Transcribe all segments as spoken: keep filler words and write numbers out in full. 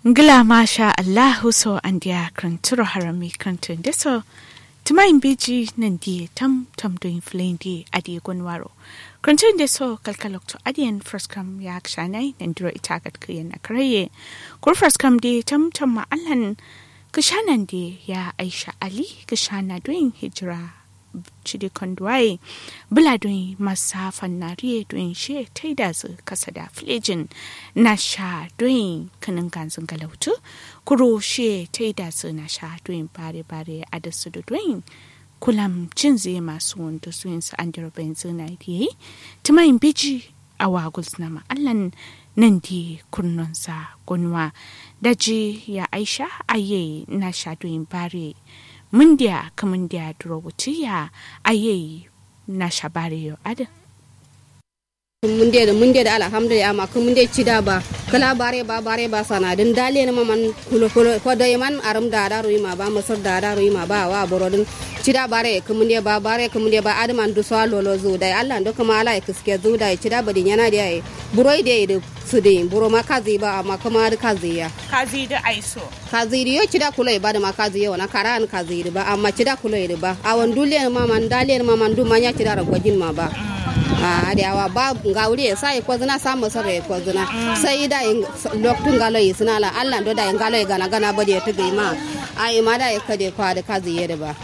Ngla masha allahu so andiya kǝrǝnturo harami kǝrǝntun deso. Tǝmayin beji nandiye tam tam doyin fǝlayin de adiye gonwaro. Kǝrǝntun deso kalkalokto adiyen fraskam ya kǝshanayi nandiro ita gatkǝyen akaraye. Kuru fraskam de tam tam ma allan kǝshanan de ya aisha ali kǝshana doyin hijira. Cidi konduwaye bǝla doyin masa fannariye doyin shiye taidazǝ kasada fǝlejin. Nasha doyin kǝnǝnganzǝ ngalautǝ kuro shiye taidazǝ nasha doyin bare bare adǝsǝ do doyin. Kulam cinzǝ ye masu wundu suwinsu andiro benzǝ na diye. Tǝmayin beji awa gulsǝna ma allan nandi kurnonsa gonwa. Daji ya aisha aye nasha doyin bare. Mundiya kǝmundiya duro wutiya aye nasha bare yo adǝ. Kǝmundiya dǝ mundiya dǝ alhamdulillah amma kǝmundiya cida ba kǝla bare ba bare ba sana dǝn daliye nǝma man kulo kulo kodo ye man arǝm da da ruyi ma ba mǝsǝr da da ruyi ma ba awa boro dǝn. Cida bare kǝmundiya ba bare kǝmundiya ba adǝ man duso a lolo zu dai allah ndo kǝma ala ye kǝske zu dai cida badi nyana diya ye. Buro ye diya ye dǝ sǝdǝ yin buro ma kazi ba amma kǝma adǝ kazi ya. Kazi dǝ aiso. Kazi dǝ yo cida kulo ye ba dǝ ma kazi ye wona kara an kazi dǝ ba amma cida kulo ye dǝ ba awon dulliyen ma man daliyen ma man duma nya cida ro gojin ma ba. Ahh dai awa ba ngawuri ye sa ye kozǝna sa mǝsǝr ye kozǝna. Sai dai loktu ngalo ye sǝna la allah ndo dai ngalo ye gana gana badi ye tǝgǝ yi ma. Ayi ma dai kade kwa dǝ kazi ye dǝ ba.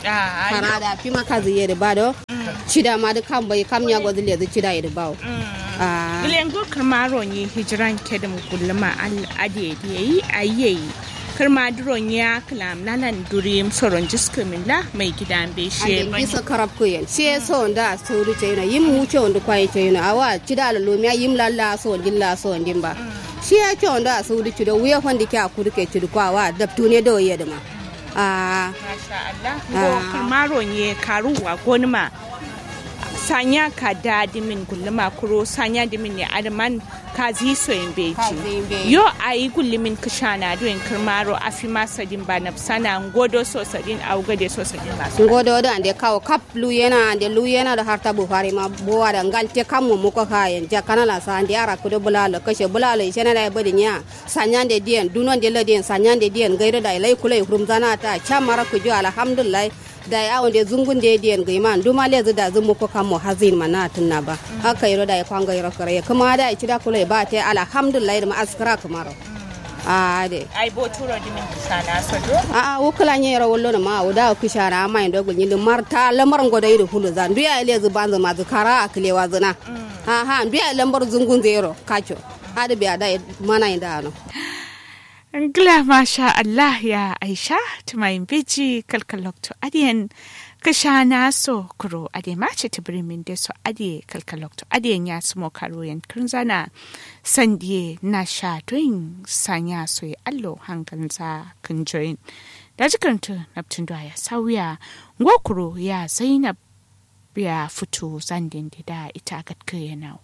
Kara da fima kazi ye dǝ ba do. Cida ma dǝ kam bai kam nya gozǝ lezǝ cida ye dǝ bawo. Ahh gǝle ngo kǝrma ronyi hijiran kedǝm gulluma al adǝ ye dǝ ye yi ayi ye yi. Kǝrma dǝ ronyi ya kǝlam nalan duri yim soron jiskǝ min la mai gida mbe shiye bani. Jiskǝ karab kǝyen shiye soron da sodǝ ceyino yim wu cewon dǝ kwaye ceyino awa cida lolo miya yim lalla soron din la soron din ba. Shiye cewon da sodǝ cido wuye fandike a kudǝ ke cido kwa wa dabtune do ye dǝ ma. Ahh masha allah. Ngo kǝrma ronyi ye karuwa gonuma. Sanya kada dǝmin gulluma kuro sanya dǝmin ne adǝ man. Kazi so yin beji. Yo ayi gullumin kǝshana doyin kǝrmaro afima sadin ba nabsana ngodo so sadin awu gade so sadin ba so. Ngodo dǝ ande kawo kap luyena ande luyena dǝ har tabu fari ma bowa dǝ ngalte kammo muko fayen jakana la so ande arakku dǝ bǝla lo kashe bǝla lo ishena dai badi nya. Sanyande diyen dunonde ladiyen sanyande diyen gairo dai lai kulai furumzana ta camara kujo alhamdullahi. Dai awonde zungunde diyen gǝima nduma lezǝ dazǝ muko kammo hazǝyin ma na tǝnna ba. Akkairo dai kwa ngairo karaye kǝma dai cida kulai ba te alhamdullahi dǝma askǝra kǝmaro. Ahh dai. Ai boturo dǝmin kǝshana so do. Ahh wu kǝla nyero wallonǝ ma awo dawo kǝshana amma yin do gulnyi dǝ marta lamar ngo dai dǝ fuluza ndu yayi lezǝ banzǝ mazǝ kara akǝlewa zǝna. Ahh ndu yayi lambar zungunzǝ yero kaco. Adǝ biya dai mana yin dano. Ngla masha allah ya aisha. Tǝmayin beji kalkal loktu adǝyen kǝshana so kuro adǝ ye ma citǝ bǝrimin de so adǝ ye kalkal loktu adǝyen ya sǝmo karuyen kǝrǝnzana. Sandiye nasha doyin sanya so ye allo hanganza kǝnjoyin. Daji kǝrǝntǝ naptǝn do aya sauya. Ngo kuro ya zainab ya futu zanden de da ita gatkǝ ye nawo.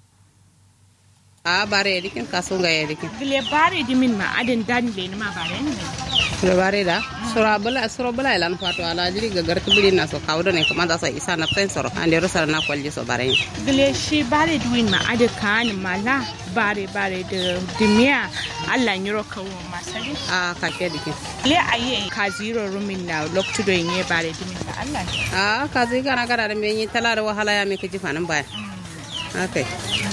Ahh bare ye dǝ kin kasu ngaye dǝ kin. Gǝle bare dǝmin ma adǝn dan lenǝma bare yen. Suro bare da suro bǝla suro bǝla ye lan fato ala jiri gagar kǝbǝrin na so kawu done kǝma za so isa nafsain soro andero sara na kwalji so bare yen. Gǝle shi bare dǝwin ma adǝ kaanǝ ma la bare bare dǝ dǝmiya. Allah nyiro kawu ma sadin. Ahh kake dǝ kin. Gǝle ayi ye kaziro rumin na loktu do ye nye bare dǝmin ma Allah. Ahh kazi gana gana dǝ mbe nyi tala dǝ wahala ya me kǝji fanǝm baye. Akai.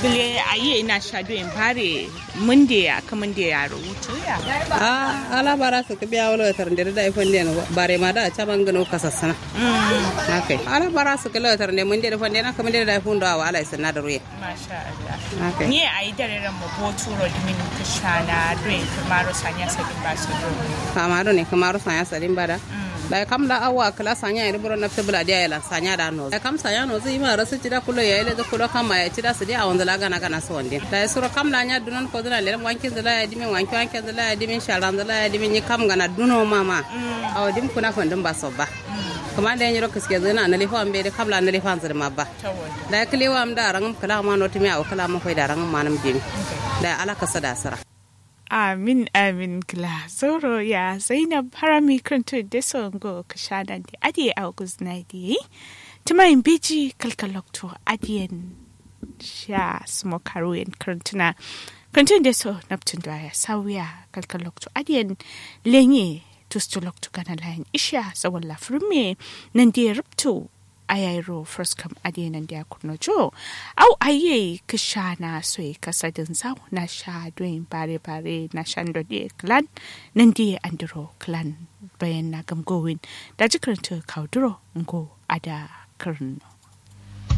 Gǝle ayi ye nasha doyin bare mǝnde ya kǝmǝnde yaro wutu ya. Ahh ala bara sǝkkǝ biya wolo tarnde dǝ dai fande no bare ma da caman gǝno kasassana. Akai ala bara sǝkkǝ lo tarnde mǝnde dǝ fande na kǝmǝnde dǝ dai fundo awo ala ye sǝnna dǝ ruye. Masha allah. Akai. Nyi ye ayi dare ramma boturo dǝmin kǝshana doyin kǝmaro sanya sadin ba so do. Kama done kǝmaro sanya sadin ba da. Dai kam la awa kǝla sanya ye dǝ buro nafsǝ bǝla diya ye lan sanya da nozǝ dai kam sanya nozǝ yima rasǝ cida kulo yayi lezǝ kulo kamma yayi cida sǝdiya awonzǝ la gana gana so wandin dai suro kam la nya dunon kozǝna lenǝm wankinzǝ la yayi dǝmin wanki wankinzǝ la yayi dǝmin sharanzǝ la yayi dǝmin nyi kam gana duno mama. Awo dim kuna fandǝm ba so ba. Kǝmande nyiro kǝskezǝ na nǝlifa mbe dǝ kam la nǝlifanzǝ dǝ ma ba. Dai kǝlewa am da rangǝm kǝla ma notǝmiya awo kǝla ma faida rangǝm manǝm dimi. Dai ala kasa da sǝra. Amin amin kǝla zauro ya zainab harami kǝrǝntǝ deso ngo kǝshanan de adǝ ye awo guzǝna ye dǝ ye yi. Tǝmayin beji kalkal loktu adǝ yen sha sǝmo karu yen kǝrǝntǝna. Kǝntǝn de so naptǝn do aya sauya kalkal loktu adǝ yen lenye tustu loktu gana layin ishiya zawalla fǝrǝmme. Nande rubtu ayayi ro fǝrǝskam adǝ yen nande akurno jo. Au ayi yayi kǝshana soyi kasadǝn zau nasha doyin bare bare nasha ndode kǝlan. Nande andiro kǝlan bayan na gamgowin. Daji kǝrǝntǝ kauduro ngo ada kǝrǝnno.